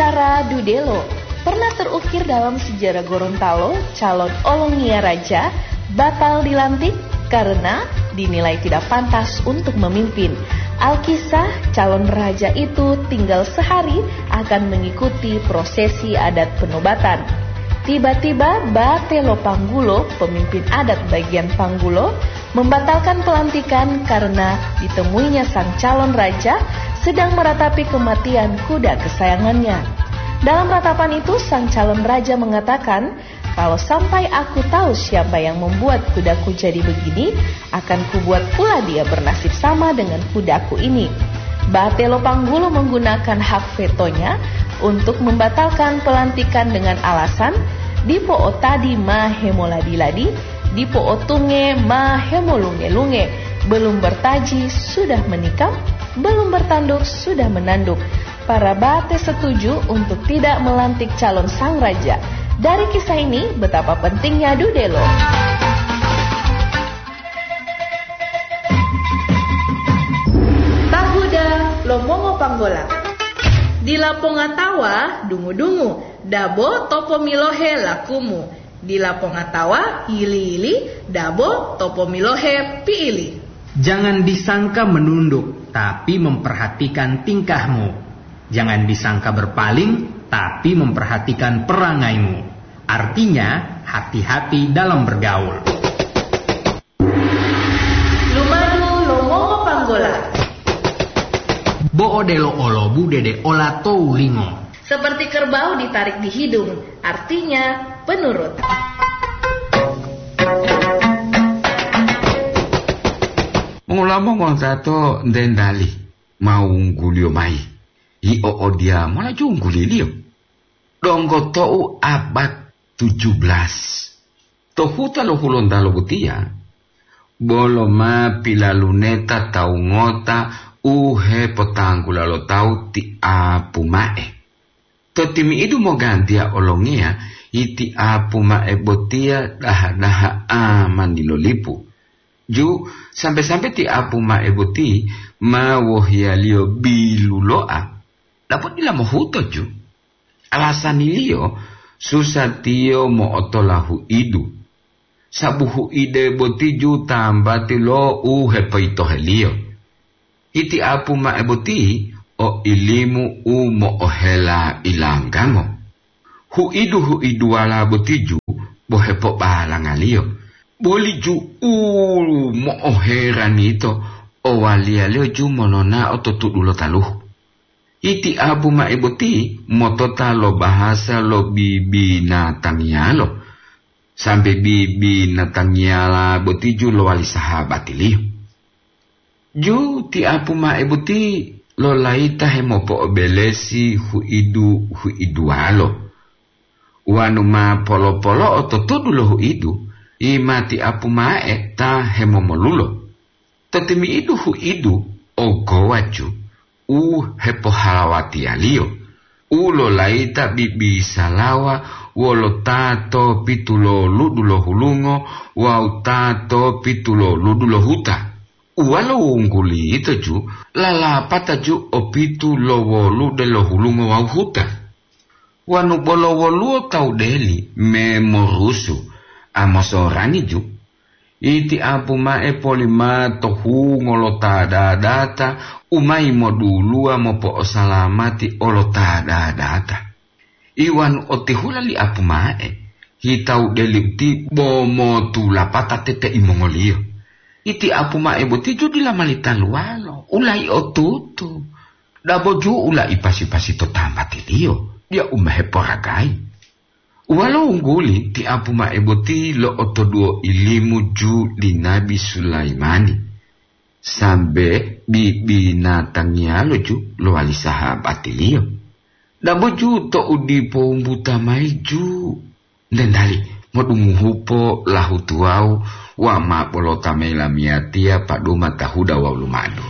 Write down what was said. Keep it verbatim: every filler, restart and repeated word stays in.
Para dudelo, pernah terukir dalam sejarah Gorontalo, calon Olongiya Raja batal dilantik karena dinilai tidak pantas untuk memimpin. Alkisah, calon raja itu tinggal sehari akan mengikuti prosesi adat penobatan. Tiba-tiba Batelo Panggulo, pemimpin adat bagian Panggulo, membatalkan pelantikan karena ditemuinya sang calon raja sedang meratapi kematian kuda kesayangannya. Dalam ratapan itu, sang calon raja mengatakan, "Kalau sampai aku tahu siapa yang membuat kudaku jadi begini, akan kubuat pula dia bernasib sama dengan kudaku ini." Batelo Panggulo menggunakan hak vetonya untuk membatalkan pelantikan dengan alasan, "Dipo otadi ma hemoladi-ladi, dipo otunge ma hemolunge-lunge, belum bertaji sudah menikam, belum bertanduk sudah menanduk." Para bate setuju untuk tidak melantik calon sang raja. Dari kisah ini, betapa pentingnya dudelo. Tahuda lo mongo panggola. Dila pongatawa dungu-dungu, dabo topo milohe lakumu. Dila pongatawa yili-yili, dabo topo milohe piili. Jangan disangka menunduk, tapi memperhatikan tingkahmu. Jangan disangka berpaling, tapi memperhatikan perangaimu. Artinya, hati-hati dalam bergaul. Lumadu lo mongo panggola. Bo odelo olobu dede ola to ulingo. Seperti kerbau ditarik di hidung, artinya penurut. Mongulamo mongotato ndendali ma wungguliyo mayi. Yio odiya mola jungguliliyo. Donggo tou abad tujuh belas, to huta lo Hulontalo botiya, bolo ma pilaluneta tawu ngota u hepotanggula lo tawu ti Apu Ma'e. To timi'idu mogantiya olongiya, yi ti Apu Ma'e botiya daha-daha'a ma nilolipu. Ju, sambe-sambe ti Apu Ma'e boti ma wohiyaliyo bilulo'a, dabo dila mohuto ju. Alasaniliyo, susa tiyo mo'otola hu'idu, sabu hu'ide boti ju tambati lo u hepoyitoheliyo. Iti Apu Ma'e boti o ilimu u mo'ohela ilanggango. Hu'idu-hu'iduwala boti ju bo hepobalangaliyo, boli ju u mo'oherani yito o waliyaliyo ju mononao to tudu lo taluhu. Iti Apu Ma'e boti motota lo bahasa lo bibinatangiyalo, sambe bibinatangiyala boti ju lowali sahabatiliyo. Ju ti Apu Ma'e boti lolayita hemopo'obelesi hu'idu-hu'iduwalo. Wanu ma polo-polo'o to tudu lo hu'idu, yi ma ti Apu Ma'e ta hemomolulo. To timi'idu hu'idu o gowaju u hepohalawatiyaliyo, u lolayita bibisalawa wolo ta to pitu lo ludu lo hulungo wawu ta to pitu lo ludu lo huta. Uwalo wungguli yito ju lalapata ju o pitu lo wolude lo hulungo wawu huta. Wanu bolo woluwo tawu deli me morusu, a mosorani ju, iti Apu Ma'e polima to hungo lo ta dadata u mayi moduluwa mopo'osalamati olo ta dadata. Iwanu otihula li Apu Ma'e, hitawu deli uti bo motulapata tete imongoliyo. Iti Apu Ma'e boti ju dila mali taluwalo, ulayi otutu. Dabo ju ulayi pasi-pasi to tambatiliyo, diya u ma heporagayi. Uwalo wungguli ti Apu Ma'e boti lo'otoduwo ilimu ju li Nabi Sulaimani, sambe bibinatangiyalo ju lowali sahabatiliyo. Dabo ju to'u dipo wumbuta mayi ju, ndendali modungohu po lahutuwawu wa ma bolota mayi lamiyatiya paduma tahuda wawu lumadu.